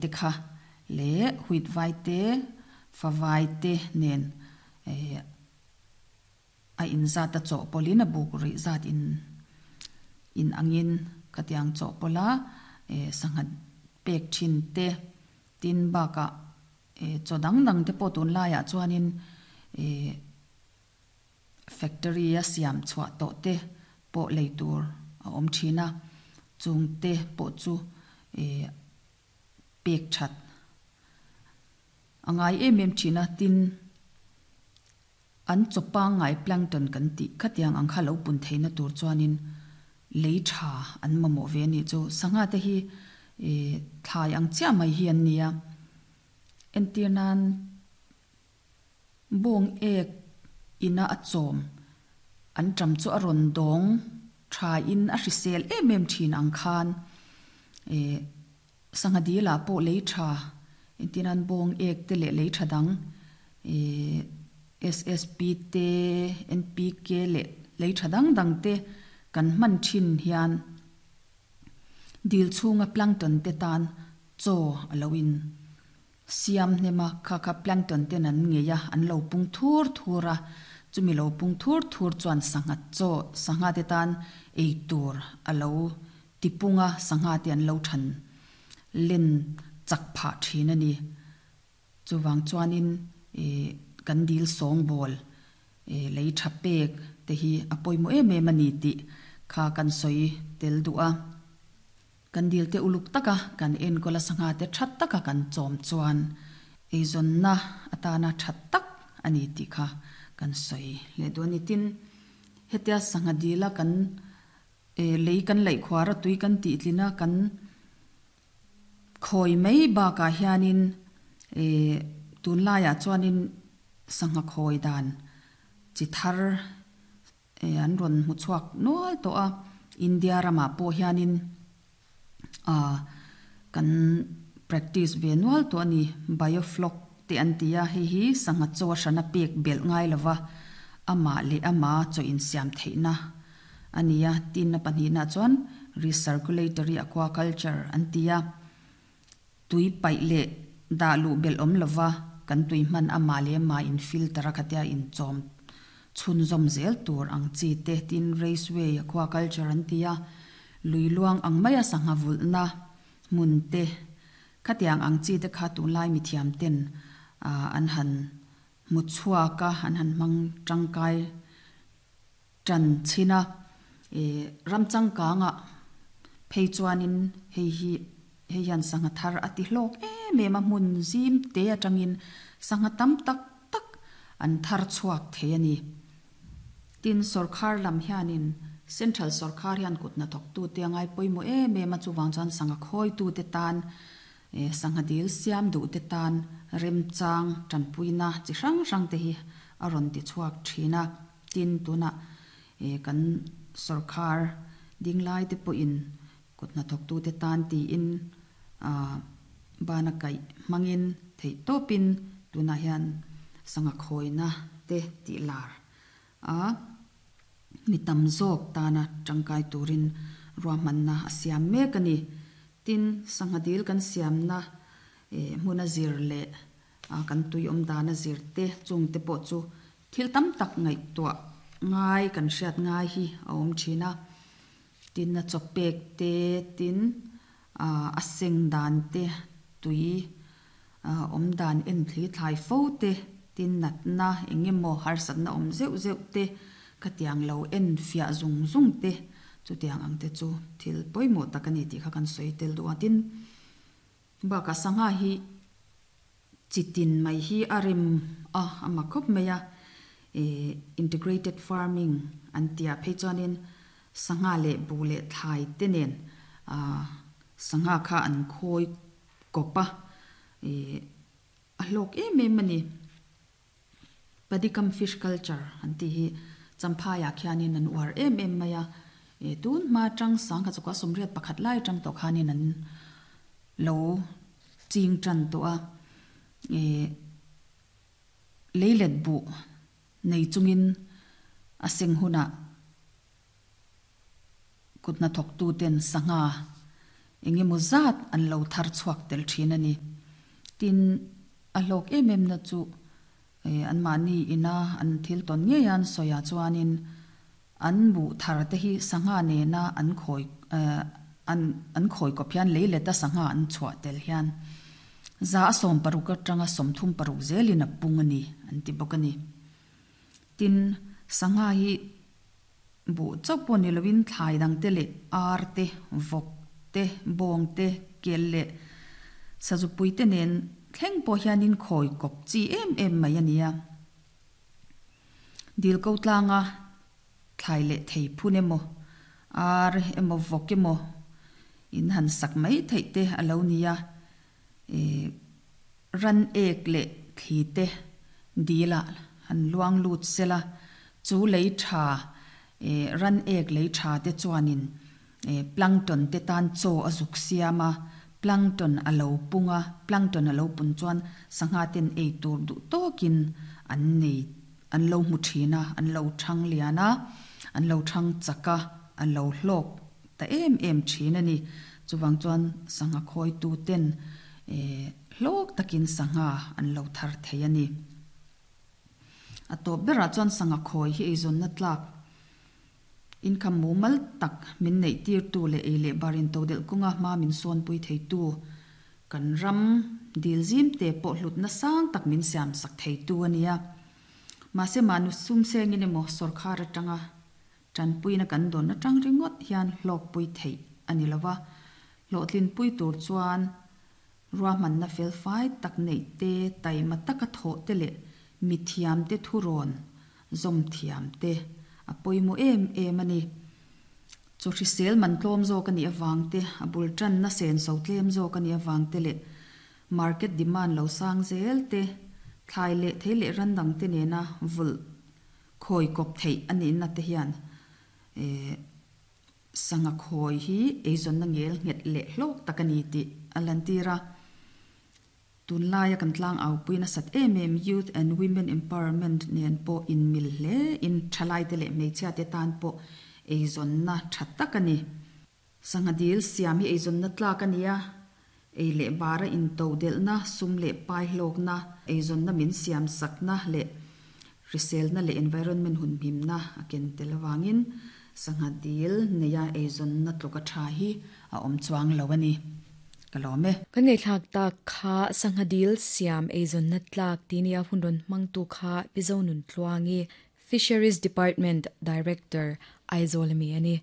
Te kha leh wheat vai te, favai te nen a inzat a chawhpawlhin a buk rih zat in in angin khatiang chawhpawlha sangha pek thin te tin bakah chaw dang dang te pawh tunlaiah chuanin ih Factory a siam chhuah tawh te pawh lei tur a awm thin a, chung te pawh chu ih pek that a ngai em em thin a, tin an chaw pangngai plankton kan tih khatiang ang kha lo pun theihna tur chuanin lei tha an mamawh ve a nih chu. Sangha te hi ih thlai ang chiah mai hi an ni a, entir nan. Bawng ek ina a chawm an ṭam chu a rawn dawng ṭhain a hrisel em em ṭhin ang khan eh sangha dil ah pawh lei ṭha entir nan bawng ek te leh lei ṭha dang eh SSP te NPK leh lei ṭha dang dang te kan hman ṭhin hian dil chhunga plankton te tan chaw a lo in Siam hnema kha kha plankton ten an ngei a, an lo pung thur thur a, chumi lo pung thur thur chuan sangha chaw, sangha te tan ei tur a lo ti pung a, sangha te an lo than len chak phah thin a ni. Chuvang chuanin ih kan dil sawngbawl ih lei tha pek te hi a pawimawh em em a ni tih kha kan sawi tel duh a. Kan dil te uluk taka kan enkawl a sangha te that taka kan chawm chuan eizawnna atana that tak a ni tih kha kan sawi leh duh a ni. Tin, hetia sangha dila kan lei kan laih khuar a tui kan tih tlin a kan khawi mai bakah hianin tunlaiah chuanin sangha khawi dan chi thar An rawn hmu chhuak nual tawh a, India ramah pawh hianin ah kan practice ve nual tawh a ni. Biofloc te an ti a, hei hi sangha chaw a hrana pek belh ngai lova amah leh ama chaw insiam theihna a ni a. Tin a pahnihna chuan recirculatory aquaculture an ti a. Tui paih leh dah luh belh awm lova kan tui hman amah leh amah in filter a khatia inchawm chhunzawm zel tur ang chi te tin raceway aquaculture an ti a, lui luang ang maia sangha vulhna hmun te khatiang ang chi te kha tunlai mithiam ten an han hmu chhuak a, an han hmang tangkai Ṭan chhin a, ih ram changkangah phei chuanin hei hi hei hian sangha thar a ti hlawk em em a, hmun zim te atangin sangha tam tak tak an thar chhuak thei a ni. Tin, sawrkhar lam hianin Central sawrkhar hian kut hnathawktute a ngai pawimawh em em a, chuvang chuan sangha khawitute tan sangha dil siam duhte tan remchang tanpuina chi hrang hrang te hi a rawn ti chhuak thin a. Tin, tunah kan sorkar ding lai te pawhin kut hnathawktute tan tiin bana kaih hmangin theih tawpin tunah hian sangha khawina te tih lar a, mi tam zawk tana tangkai turin ruahmanna a siam mek a ni. Tin, sangha dil kan siamna hmuna zir leh kan tui awm dana zir te chung te pawh chu Thil tam tak ngaihtuah ngai kan hriat ngai hi a awm thin a, tin a chaw pek te, tin a seng dan te, tui awm dan en thli thlai fo te, tin natna eng emaw harsatna awm zeuh zeuh te, khatiang lo en fiah zung zung te, chutiang ang te chu thil pawimawh tak a ni tih kha kan sawi tel duh a, tin bakah sangha hi. Chi tin mai hi a rem a, a mak khawp mai a, ih integrated farming an tih ah phei chuanin sangha leh buh leh thlai te nen ah sangha kha an khawi kawp a, ih a hlawk em em a ni. Padikam fish culture an tih hi Champhai ah khianin an uar em em mai a, ih tun hma atang sangha chukah sawmriat pakhat lai atang tawh khanin an lo Ching tan tawh a, ih leilet buh nei chungin a seng hunah kut hnathawk tuten sangha Engemaw zat an lo thar chhuak tel thin a ni. Tin, a hlawk em em na chu anmahni ina an thil tawn ngei a an sawi ah chuanin an buh thar te hi sangha nena an khawi an an khawi kawp hian lei leta sangha an chhuah tel hian za a 60 atanga 36 zelin a pung a ni an ti bawk a ni. Tin, sangha hi Buh chauh pawh ni loin thlai dang te leh ar te, vawk te, bawng te, kel leh sazupui te nen thleng pawh hianin khawi kawp chi em em mai a nia. Dil ko tlanga thlai leh thei phun emaw, ar emaw, vawk emaw in han sak mai theih te a lo nia. Ran ek leh thli te dil ah han luang lut sela, chu lei tha ran ek lei tha te chuanin plankton te tan chaw a zuk siam a, plankton a lo pung a, plankton a lo pun chuan sangha ten ei tur duh tawkin an nei an lo hmu thin a, an lo thang lian a, an lo thang chak a, a lo hlawk ta em em thin a ni. Chuvang chuan sangha khawitu ten hlawk takin sangha an lo thar thei a ni. A tawp berah chuan sangha khawi hi eizawnna tlak income mumal tak min neih tirtu leh ei leh bar intodelh kawnga hma min sawnpui theitu kan ram dil zim te pawh hlutna sang tak min siam sak theitu a nia. Mahse mahni sum sengin emaw sawrkhar atanga Tanpuina kan dawn atang ringawt hian hlawkpui theih a ni lova, hlawhtlinpui tur chuan ruahmanna felfai tak neih te, taima taka thawh te leh mithiamte thurawn zawm thiam te a pawimawh em em a ni. Chaw hrisel man tlawm zawk a nih avang te, a bul tanna senso tlem zawk a nih avang te leh market demand lo sang zel te, thlai leh thei leh ran dangte nena vulh Khawi kawp theih a nihna te hian sangha khawi hi eizawnna ngel nghet leh hlawk tak a ni tih a lantir a. Tunlaia kan tlangaupuia nasat em em Youth and Women Empowerment nen pawh inmil hle in thalaite leh hmeichhiate tan pawh eizawnna tha tak a ni. Sangha dil siam hi eizawnna tlak a ni a, ei leh bara into delhna, sum leh pai hlawkna, eizawnna min siam sakna leh hriselna leh environment hunhimna a ken tel avangin sangha dil neia eizawnna tluka tha hi a awm chuang lo a ni. Ka lawm e. Kan ngaihthlak tak kha sangha dil siam eizawnna tlak tih nia hun rawn hmangtu kha Pi Zonun Tluangi, Fisheries Department Director, Aizawl ami a ni.